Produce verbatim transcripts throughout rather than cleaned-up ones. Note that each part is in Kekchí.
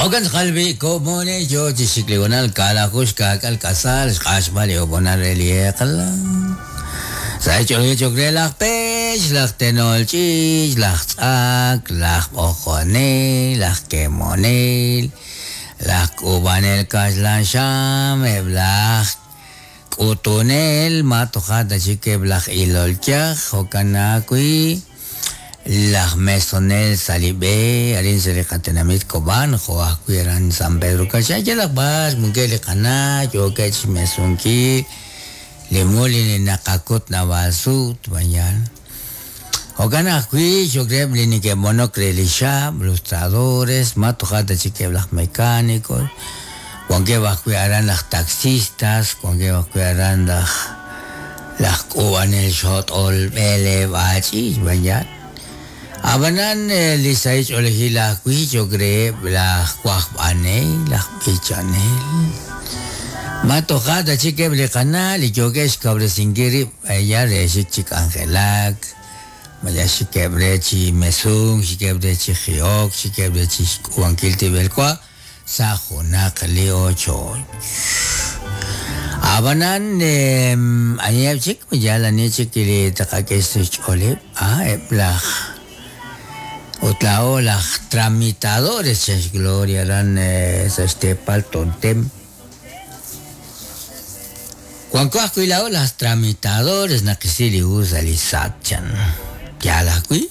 Okan xqalbi komone yo chi xikligonal kalajush kakal kasal xq'axb'al li obonal re li eq'la. Sa' ch'oolej chok re laj pech, laj tenol ch'iich, laj tz'ak, laj b'ojonel, laj kemonel, laj k'ub'anel kaxlan xam, eb' laj k'utunel, ma tojat chik eb' laj ilol yaj, jo'kan ajwi' laj mesonel sa' li b'e, arin sa' li qatenamit Cobán, jo' ajwi' aran San Pedro Kaxay, yalaq b'ar munkej li qana' yookeb' xmesunkil li mul li naqakut naab'al sut mañana. Jo'kan ajwi' xok reheb' li neke'b'onok re li xab', lustradores, ma tojat chik eb' laj mecánicos, wankeb' ajwi' aran laj taxistas, wankeb' ajwi' aran laj laj k'ub'anel xot'ol b'eleeb' ach'iich' mañana. Ab'anan li sahil ch'oolejil ajwi' xok reheb' laj wajb'anel, laj b'ichanel. Ma tojat chik eb' li qana' li yookeb' xkawresinkil rib' ya re xik chi k'anjelak, maya xikeb' re chi mesunk, xikeb' re chi ji'ok, xikeb' re chi xk'ub'ankil tib'elwa sa' junaq li ochoch. Ab'anan aniheb' chik yal ani chik li taqak'e sa' xch'ooleb', ah eb' laj ut laa'o laj tramitadores chan xGloria aran sa' xteepal Tontem. Wanko ajwi' laa'o laj tramitadores naqisi li hu sa' li S A T chan. Yaal ajwi'.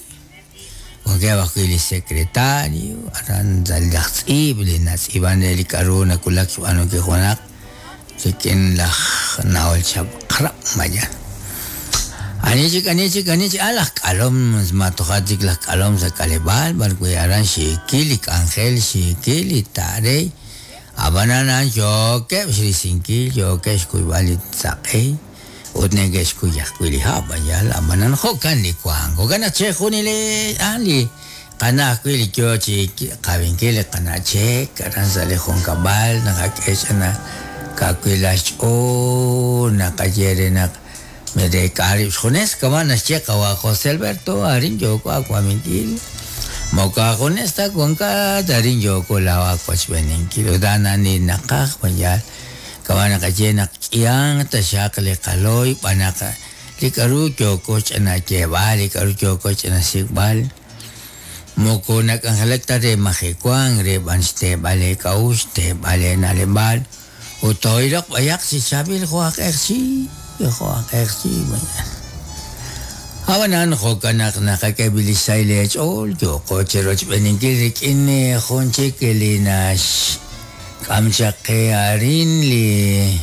Wankeb' ajwi' li secretario, aran sa' laj tz'iib' li natz'iib'an re li k'a'ru nakulak xb'aanunkil junaq rik'in laj na'ol chaq'rab' mañana. Ani chik, ani chik, ani chik, ah laj k'alom, ma tojat chik laj k'alom sa' k'aleb'aal, b'ar wi' aran xiikil li k'anjel, xiikil li taarey. Ab'anan a'an yookeb' xrisinkil, yookeb' xkuyb'al li saq'ey ut neke'xkuy ajwi' li hab', yal ab'anan jo'kan li wank. Jo'kan naq chejunilex ah li qana' ajwi' li yoo chi qawinkil li qana' chek aran sa' li junkab'al naqak'e ch'ana kawilal xch'ool, naqaye re naq mereek'a rib' xjunes, kama' naxye qawa' José Alberto, arin yooko awaminkil. Moko ajunes ta wankat, arin yooko laa'o awachb'eninkil. Ut a'an li naqaj mayal kama' naqaye naq k'ihan taxaq li qalooy b'anaq li k'a'ru yooko ch'ana yeeb'al, li k'a'ru yooko ch'ana sik'b'al. Moko nak'anjelak ta re majewank, re b'an xteeb'al eek'a'uxl, xteeb'al eena'leb'al. Ut too'iloq b'ayaq chi chaab'il jo' aj q'eqchi, jo' aj q'eqchi mañana. Ab'anan jo'kan naq naqak'e li sahil eech'ool, yooko chirochb'eninkil rik'in jun chik li naxk'am chaq qe arin li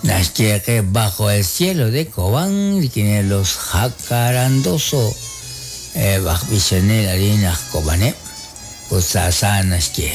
naxye qe bajo el cielo de Cobán, rik'in los Jacarandoso, eb' aj b'ichanel arin aj Kobaneb', ut sa' sa' naxye.